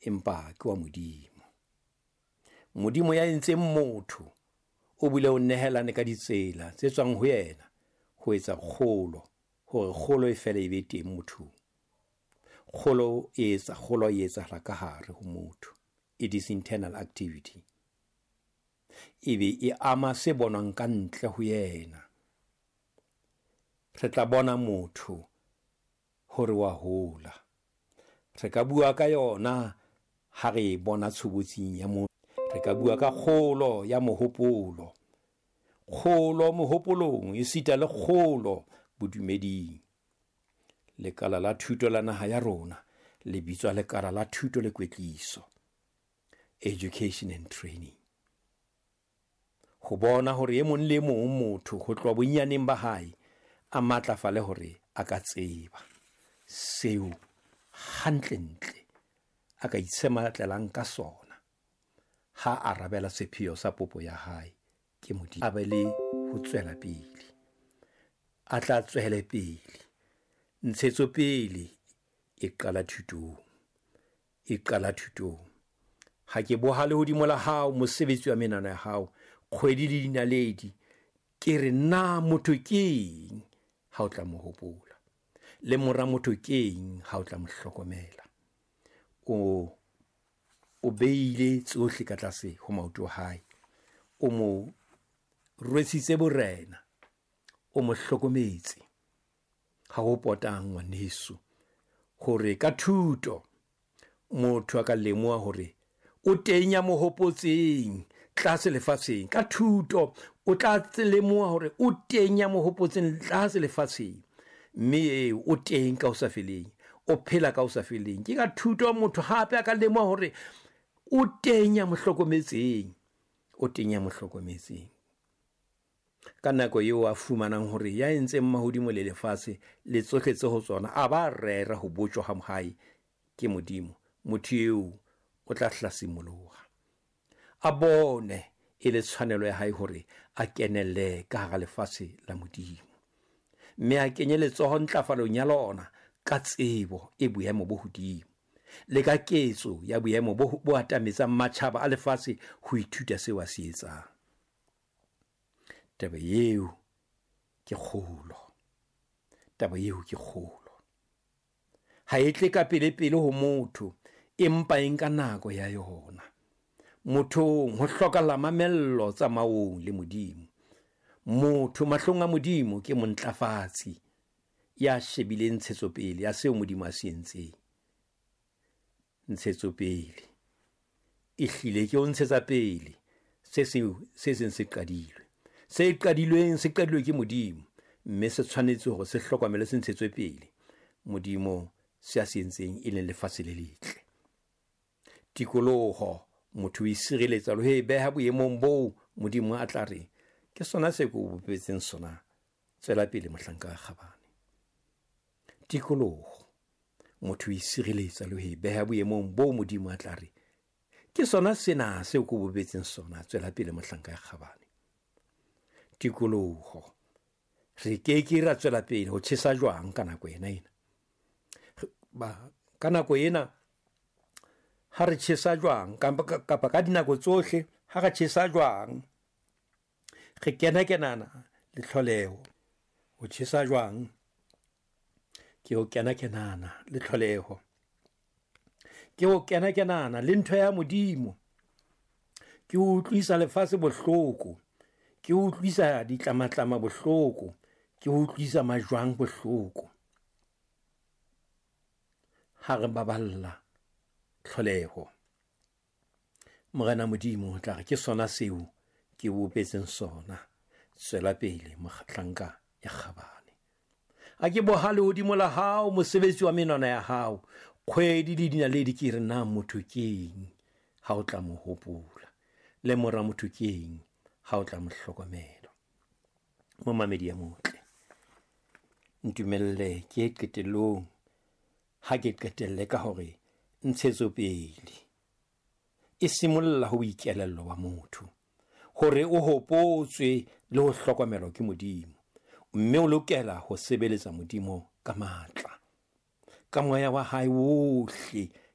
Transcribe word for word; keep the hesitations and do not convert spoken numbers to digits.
empa ke wa Modimo. Modimo ya entseng motho o bile o nehelane ka ditsela tse tswang ho yena ho etsa kgolo, hore kgolo e fele e be teng mothong. Kgolo e etsa kgolo e etsahala ka hare ho motho. It is internal activity. Ebe e ama se bonwang ka ntle ho yena. Re tla bona motho hore wa hola. Re ka bua ka yona ha re e bona tshobotsing ya motho. Re ka bua ka kgolo ya mohopolo. Kgolo mohopolong esita le kgolo bodumeding. Lekala la thuto la naha ya rona le bitswa lekala la thuto le kwetliso, education and training. Ho bona hore e mong le mong motho ho tloha bonyaneng ba hae a matlafale hore a ka tseba seo hantlentle a ka itshematlelang ka sona ha a arabela sepheo sa popo ya hae ke Modimo. A be le ho tswela pele, a tla tswele pele. Ntshetsopele e qala thutong, e qala thutong. Ha ke boha lehodimo la hao, mosebetsi wa menwana ya hao, kgwedi le dinaledi, ke re na motho keng ha o tla mo hopola, le mora motho keng ha o tla mo hlokomela. O o beile tsohle ka tlase ho maoto a hae, o mo rwesitse borena, o mo hlokometse. Ha ho potang ngwaneso hore ka thuto motho a ka lemoha hore o teng ya mo hopotseng tlase lefatsheng. Ka thuto o tla lemoha hore o teng ya mo hopotseng tlase lefatsheng, mme eo o teng ka ho sa feleng, o phela ka ho sa feleng. Ke ka thuto motho hape a ka lemoha hore o teng ya mo hlokometseng, o teng ya mo hlokometseng. Ka nako eo a fumanang hore ya entseng mahodimo le lefatshe le tsohle tse ho tsona a ba rera ho botjwa ha hae ke Modimo, motho eo o tla hlasimoloha, a bone e le tshwanelo ya hae hore a kenelle ka hara lefatshe la Modimo, mme a kenye letsoho ntlafalong ya lona ka tsebo e boemo bo hodimo le ka ketso ya boemo bo, bo atametsang matjhaba a lefatshe ho ithuta seo a se etsang. Taba eo ke kgolo, taba eo ke kgolo. Ha e tle ka pele pele ho motho, empa e nka nako ya yona. Mothong ho hlokahala mamello tsamaong le Modimo. Motho mahlong a Modimo ke montlafatsi ya shebileng ntshetsopele ya seo Modimo a se entseng. Ntshetsopele e hlile ke ho ntshetsa pele se seng se seng se qadilwe. Se qadilweng se qadilwe ke Modimo, mme se tshwanetse hore se hlokomele se ntshetswe pele. Modimo se a se entseng e leng lefatshe le letle. Tikoloho motho o e sireletsa le ho e beha boemong boo Modimo a tla re ke sona se ke o bopetseng sona, tswela pele mohlanka wa kgabane. Tikoloho motho o e sireletsa le ho e beha boemong boo Modimo a tla re ke sona sena seo ke o bopetseng sona, tswela pele mohlanka wa kgabane. Tikoloho re ke ke ra tswela pele ho tjhesa jwang ka nako ena ena. Ba ka nako ena ha re tjhesa jwang kapa kapa ka dinako tsohle ha re tjhesa jwang re kena kenana le tlholeho. Ho tjhesa jwang ke ho kena kenana le tlholeho, ke ho kena kenana le ntho ya Modimo, ke ho utlwisa lefatshe bohloko, ke ho utlwisa ditlamatlama bohloko, ke ho utlwisa majwang bohloko. Ha re baballa tlholeho, Morena Modimo o tla re ke sona seo ke bopetseng sona, tswela pele mohlanka ya kgabane. A ke boha lehodimo la hao, mosebetsi wa menwana ya hao, kgwedi le dinaledi, ke re na motho keng ha o tla mo hopola, le mora motho keng ha o tla mo hlokomela. Momamedi ya motle, ntumelle ke qetellong ha ke qetelle ka hore ntshetsopele e simolla ho boikelello ba motho, hore o hopotswe le ho hlokomelwa ke Modimo, mme o lokela ho sebeletsa Modimo ka matla, ka moya wa hae wohle,